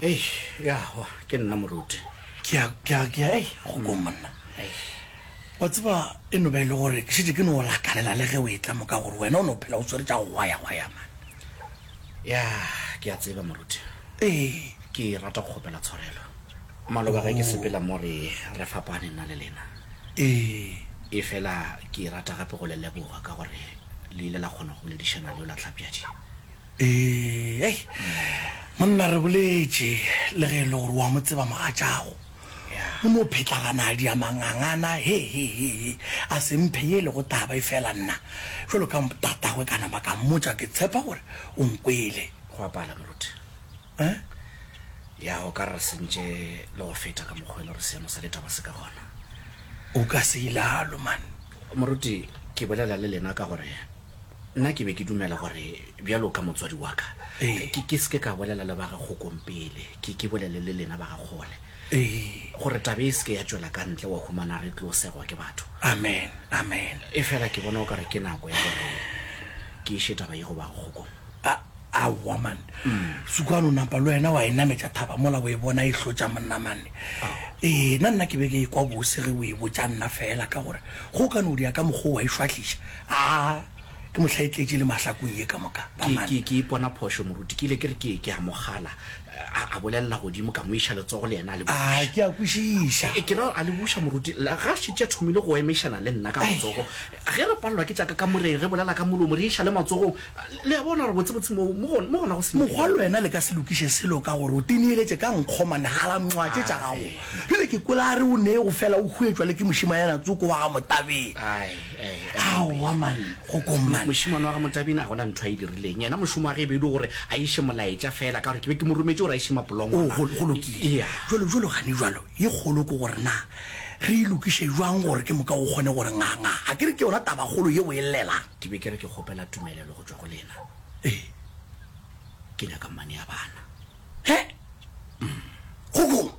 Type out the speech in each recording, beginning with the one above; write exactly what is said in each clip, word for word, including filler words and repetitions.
Ei, ya, wa, ke nna moruti. Ke a, ke a, ke a, ei, Kgokong monna. Wa tseba, e no ba e le gore ke šetše ke no lakalela le ge o etla mo ka gore wena o no phela o swere tša go gwayagwaya man. Ya, ke a tseba moruti. Ee. Ke rata go kgopela tshwarelo. Maloba ge ke sepela mo re, re fapane nna le lena. Ee. Efela ke rata gape go le leboga ka gore le ile la kgona go boledišana le yola Tlhapjadi. Ee, hei, monna re boletše, le ge e le gore o a mo tseba mogatšago. O no phetlagana a dia mangangana, he, he, he, he, a se mphe ye e lego taba, efela nna, bjalo ka tatagwe ka nama ka mmotša, ke tshepa gore o nkwele. Go a pala, moruti. Eh? Ya, o ka re re sentše le go feta ka mokgwa e le gore seemo sa ditaba se ka gona. O ka se ilalo, man. Moruti, ke bolela le lena ka gore nna ke be ke dumela gore bjalo ka motswadi wa ka, Ee. ke, ke se ke ka bolela le ba ga Kgokong pele, ke, ke bolele le lena ba ga Kgole. Ee. Gore taba e se ke ya tšwela ka ntle wa humana re tlo segwa ke batho. Amen, amen. Efela ke bona o ka re ke nako ya gore ke iše taba ye go ba ga Kgokong. A, aowa man. Sukwane o napa le wena wa e nametša thaba mola o e bona e hlotša monna man. Ee, nna nna ke be ke ekwa bose ge o e botša nna fela ka gore go ka no dia ka mokgwa o wa e šwahliša. Aa, ke mohla e tletše le mahlakong ye ka moka, ba Ke, man. ke, ke ipona phošo moruti. Ke ile ke re ke, ke a mo gala. A, a bolelela godimo, ka mo iša letsogo le yena a le A, buša. ke a kwešiša. E, ke ra a le buša moruti, la, ga a šetše a thomile go emišana le nna ka Ai. matsogo. Ge re palelwa ke tša ka kamoreng, re bolela ka molomo, re iša le matsogong. Le a bona gore botsebotse mo, mo gona, mo gona go Mokgwa senyegile. le wena le ka se lokiše selo ka gore o tineeletše ka nkgo mane hala nqwa tše tša gago. Bjale ke kwele a re o nee go fela o huetšwa le ke mošemanyana tsoko wa ga Motabeng. Ai, ai, ai. Aowa man, Kgokong man. Mošemane wa ga Motabeng a gona ntho a e dirileng. Yena mošomo wa ge e be e le gore a iše molaetša fela, ka gore ke be ke mo rometše gore a iše O, mapolongwana. go, go lokile. Eya. Jwalo, jwalo gane jwalo, ye kgolo ke gore na re e lokiše jwang gore ke moka o kgone gore nga, nga. A ke re ke yona tabakgolo ye o e llelang? Ke be ke re ke kgopela tumelelo go tšwa go lena. Ee. Ke nyaka mmane ya bana. He? Kgokong.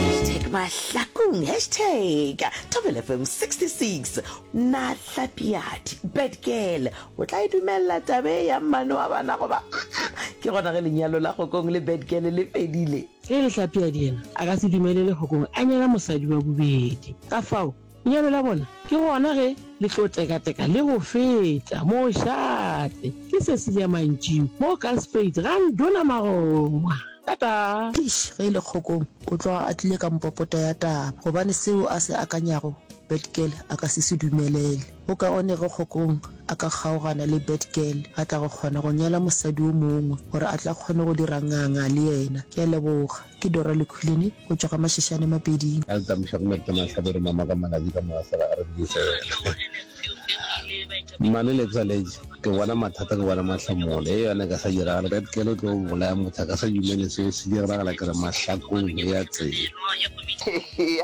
Hashtag Mahlakung, hashtag Thobela F M sixty-six. Na Hlapiadi, bad girl, o tla e dumelela taba e ya mmane wa bana goba mm-mm? Ke gona ge lenyalo la Kgokong le bad girl le fedile. Ge e le Hlapiadi yena a ka se dumelele Kgokong a nyala mosadi wa bobedi. Ka fao, lenyalo la bona ke gona ge le tlo tekateka le go feta. Mošate ke Cecilia Mantšiu mo Kalspruit ga Nduna Magongwa. Tata! Eish, ge e le Kgokong, o tloga a tlile ka mpopota ya taba, gobane seo a se akanyago Bad Girl a ka se se dumelele. Go kaone ge Kgokong a ka kgaogana le Bad Girl, a tla go kgona go nyala mosadi o mongwe gore a tla kgone go dira nganga le yena. Ke a leboga. Ke Dora Lekhulene go tšwa ga Mashishane Mapeding. A le tamiša go Merta Mahlabere mama ka Malabi ka Mogasela a re dikisela. Mmane le tswaletše ke bona mathata ke bona mahlamole e yona ka sa diragala ka tkelo tlo bolaya motho a ka sa dumele seo se diragala ke re mahlakong ya tsela.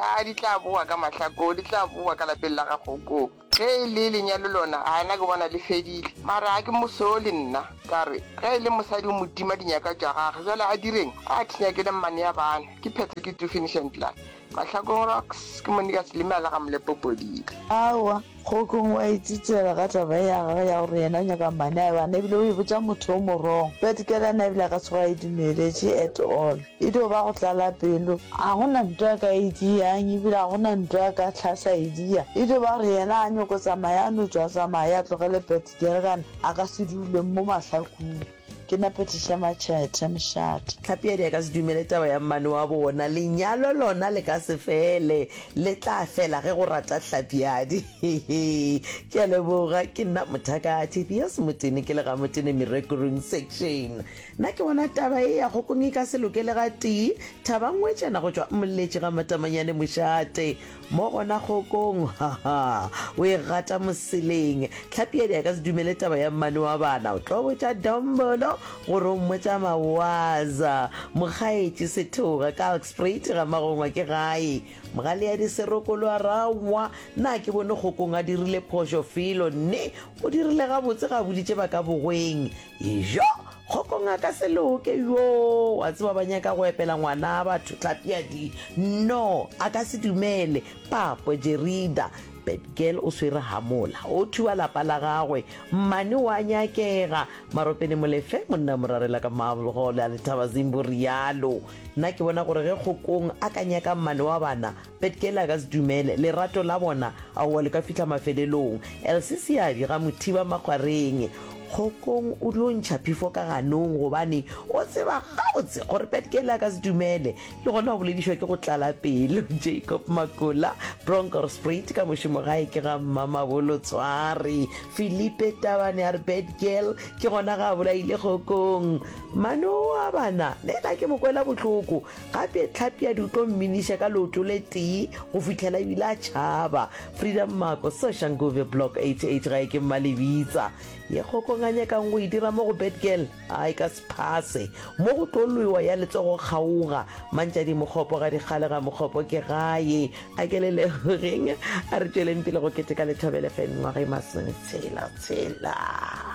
A di tla boa ka mahlakong, di tla boa ka lapeng la ga Kgokong. Ge e le lenyalo lona, a nna ke bona le fedile. Mara ga ke mo sole nna, ka re ge e le mosadi o mo tima dinyaka tša gagwe, bjale a direng? A thinyakele mmane ya bana. Ke phetho ke two finish and klaar. Mahlakong rocks, ke Monica Selime a le ga Molepo Podile. Aowa, Kgokong o a itsitsela ka taba ye ya gagwe ya gore yena o nyaka mmane a bana ebile o e botša motho o mo wrong. But ke yena ebile a ka tsoga a e dumeletše at all. E dio ba go tlala pelo. A go na nto a ka e diang ebile a go na nto a ka hlahla e dia. E dio ba gore yena a nyoko tsamaya a no tšwa tsamaya a tlogele Bad Girl kana a ka se dule mo mahlakung. Ke na Patricia Matšhethe, mošate. Tlhapiadi a ka se dumele taba ya mmane wa bona. Lenyalo lona le ka se fele. Le tla fela ge go rata Hlapiadi. Hehe. Ke a leboga. Ke nna Mothakathi Theos Motene ke le ga Motene Merekurung Section. Nna ke bona taba ye ya Kgokong e ka se loke le gatee. Thaba Ngwetšana go tšwa Moletši ga Matamanyane mošate. Mo gona Kgokong, ha-ha, o e gata moseleng. Tlhapiadi a ka se dumele taba ya mmane wa bana. O tlo botša Dombolo gore o mmotša mawaza. Mokgaetši Sethoga, Kalkspruit ga Magongwa ke gae. Mogaleadi Serokolo a ra aowa, na ke bone Kgokong a dirile phošo felo? Nne, o dirile gabotse ga a boditše ba ka bogweng. Ejo! Kgokong a ka se loke, yoo, wa tseba ba nyaka go epela ngwana batho Tlhapiadi. No, a ka se dumele. Papo, Jerida, Bad girl o swere hamola, o thuba lapa la gagwe, mmane wa nyakega. Maropene Molefe, monna morarela ka Marble Hall a Lethaba Zimbo rialo. Nna ke bona gore ge Kgokong a ka nyaka mmane wa bana, Bad girl a ka se dumele, lerato la bona aowa le ka fihla mafelelong. Elsie Seabi ga Mothiba Makgwareng, Kgokong o dio ntšha phefo ka ganong gobane o tseba gabotse gore Bad Girl a ka se dumele, le gona o boledišwa ke go tlala pelo. Jacob Makola, Bronkhorstspruit ka mošomo gae ke ga Mmamabolo Tshware. Filipe Tabane a re Bad Girl ke gona ga a bolaile Kgokong. Mano wa bana le yena ke mo kwela bohloko, gape Tlhapiadi o tlo mminiša ka leoto le tee go fihlela ebile a tšhaba. Frida Mmako, Soshanguve Block eighty eight gae ke Mmalebitsa. Ye Kgokong a nyakang go e dira mo go Bad Girl, a e ka se phase. Mo go tlo lwewa ya letsogo kgaoga. Mantšadi Mokgopo ga dikgale ga Mokgopo ke gae. A ke le lebogeng. A re tšweleng pele go keteka Lethobela F M mengwaga e masometshela tshela.